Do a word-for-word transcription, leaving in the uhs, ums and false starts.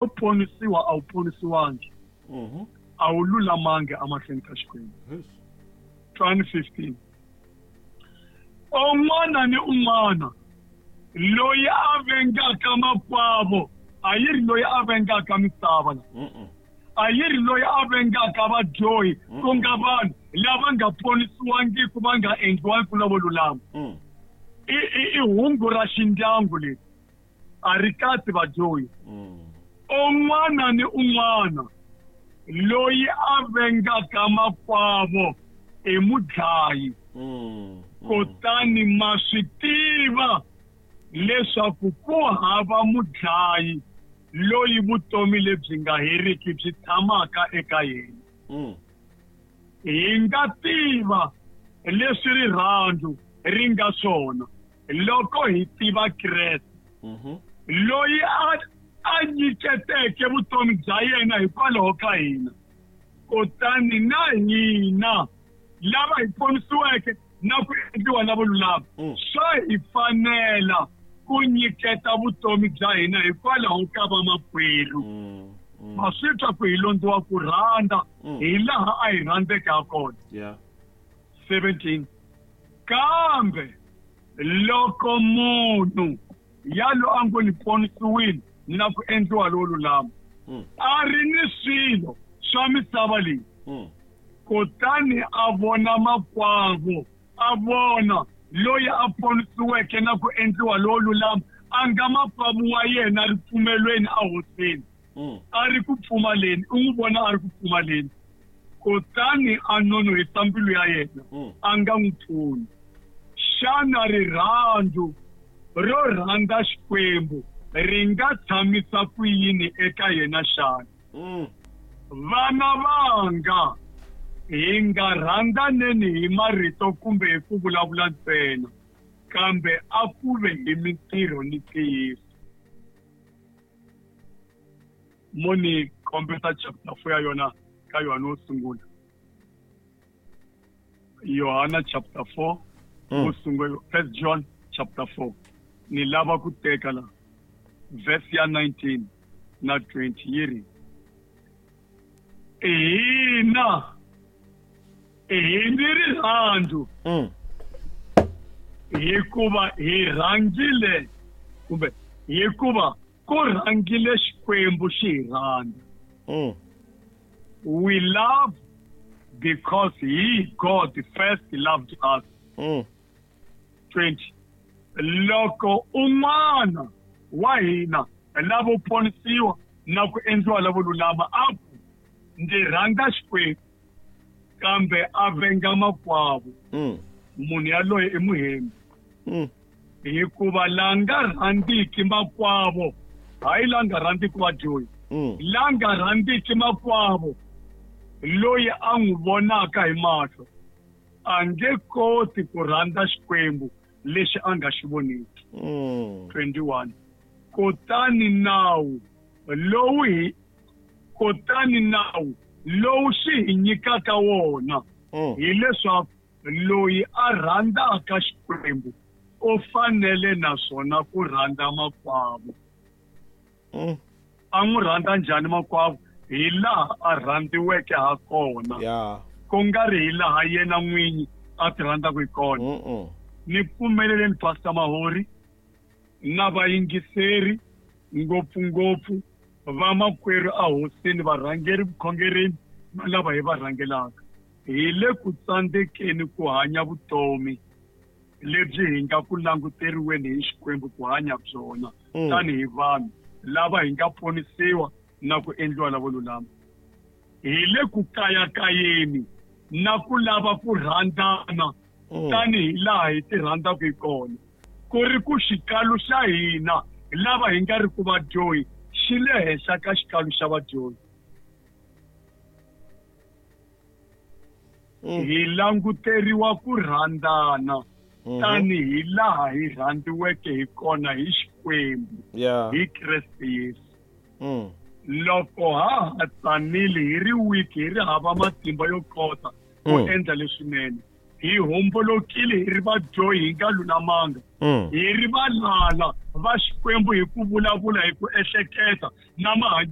ponisiwa a wu ponisiwangi Mhm. a wu lulamangi emahlweni ka Xikwembu. Yes. John fifteen, un'wana ni un'wana loyi a vengaka makwavo, a yi ri loyi a vengaka misava la. Mm-mm. A yi ri loyi a vengaka vadyohi, ku nga vanhu lava nga ponisiwangiku, va nga endliwangi lavo lulama. Mm. I i i hungu ra xindyangu leri a ri katsi vadyohi. Mm. Un'wana ni un'wana loyi a vengaka makwavo i mudlayi. Mm. Kutani ma swi tiva leswaku ku hava mudlayi loyi vutomi lebyi nga heriki byi tshamaka eka yena. Mm. Hi nga tiva leswi rirhandzu ri nga swona loko hi tiva Kreste, Mhm. loyi a a nyiketeke vutomi bya yena hikwalaho ka hina. Kutani na hina lava hi ponisiweke na ku endliwa lavo lulama, Mm. swa hi fanela ku nyiketa vutomi bya hina hikwalaho ka vamakwerhu. Mm. Mm. Ma swi twa ku hi londziwa ku rhandza Mm. hi laha a hi rhandzeke ha kona. Yeah. seventeen, kambe loko munhu yalo a ngo ni ponisiwile na ku endliwa lowo lulama, Mm. a ri ni swilo swa misava leyi, Mm. kutani a vona makwavo, a vona loyi a ponisiweke na ku endliwa lowo lulama, a nga makwavo wa yena ripfumelweni a hosini, Mm. a ri ku pfumaleni, u n'wi vona a ri ku pfumaleni, kutani a nonohisa mbilu ya yena, Mm. a nga n'wi pfuni, xana rirhandzu ro rhandza Xikwembu ri nga tshamisa ku yini eka yena xana? Mm. Vana vanga, hi nga rhandzaneni hi marito kumbe hi ku vulavula ntsena, kambe a ku ve hi mintirho ni ntiyiso. Mo ni kombeta chapter four ya yona ka Yohana wo sungula, Yohana chapter four, Mm. wo sungula, First John chapter four. Ni lava ku teka la verse ya nineteen na twenty, yi ri, hina hi ni rirhandzu Mm. hikuva hi rhangile, kumbe hikuva ku rhangile Xikwembu xi hi rhandza. Mm. We love because he, God, first loved us. Mm. twenty, loko un'wana wa hina lavo ponisiwa na ku endliwa lavo lulama a ku, ndzi rhandza Xikwembu, kambe a venga makwavo, Mm. munhu yaloye i muhembi. Mm. Hikuva la nga rhandziki makwavo, hayi la nga rhandziki vadyohi, Mm. la nga rhandziki makwavo loyi a n'wi vonaka hi mahlo, a nge koti ku rhandza Xikwembu lexi a nga xi voniki. Mm. twenty-one, kutani nawu lowu hi kutani nawu lowu xi hi nyikaka wona Mm. hileswaku loyi a rhandzaka Xikwembu u fanele naswona ku rhandza makwavo. Mm. A n'wi rhandza njhani makwavo? Hi laha a rhandziweke ha kona, Yeah. ku nga ri hi laha yena n'winyi a ti rhandzaka hi kona. Mm-mm. Ni pfumeleleni Pastor Mahori na vayingiseri, ngopfungopfu vamakwerhu a hosini, varhangeri vukhongerini na lava hi va rhangelaka, hi le ku tsandzekeni ku hanya vutomi lebyi hi nga ku languteriweni hi Xikwembu ku hanya byona Mm. tanihi vanhu lava hi nga ponisiwa na ku endliwa lavo lulama. Hi le ku kayakayeni na ku lava ku rhandzana Mm. tanihi laha hi ti rhandzaka hi kona, ku ri ku xikalu xa hina lava hi nga ri ku vadyohi xi le henhla ka xikalu xa vadyohi. Mm. Hi languteriwa ku rhandzana Mhm. tanihi laha hi rhandziweke hi kona hi Xikwembu, Yeah. hi Kreste Yesu. Mm. Loko ha ha tsanile, hi ri weak, hi ri hava matimba yo kota ku Mm. endla leswinene, hi hombolokile, hi ri vadyohi, hi nga lulamanga, Mm. hi ri valala va Xikwembu hi ku vulavula, hi ku ehleketa na mahanyelo.